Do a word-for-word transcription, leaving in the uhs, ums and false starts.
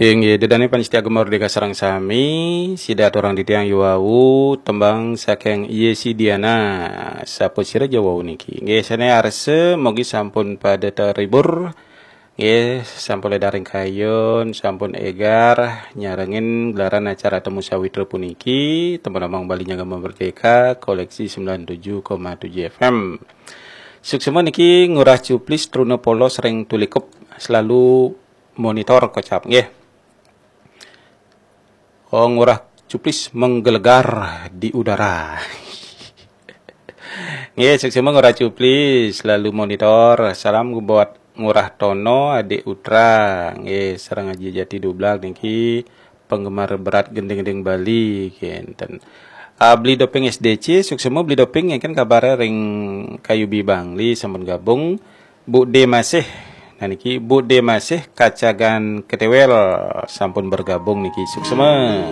Inggih, ida dané pamiarsa Gema Merdeka sareng sami, sida aturang titiang yua wau tembang saking Yesi Diana. Sapa sira ja wau niki? Nggih, sané arsa, mugi sampun pada terhibur. Nggih, sampun ledar ring kayun, sampun égar nyarengin gelaran acara Temu Sawitra puniki, temen among Bali Gema Merdeka, koleksi sembilan tujuh koma tujuh F M. Suksma niki Ngurah Cuplis Truna Polos ring Tulikup, selalu monitor kocap nggih. Oh, Ngurah Cuplis menggelegar di udara. Nggih, suksma Ngurah Cuplis, selalu monitor. Salam buat Ngurah Tono, Adik Utra. Nggih, sareng Aji Jati Dublag niki penggemar berat gending-gending Bali kinten. Ah, Beli Doping S D C, suksma Beli Doping, ngéngkén kabaré ring Kayu Bibangli sampun gabung. Bu D Masih, nah niki Bu D Masih Kacagan Ketewel sampun bergabung niki, suksma.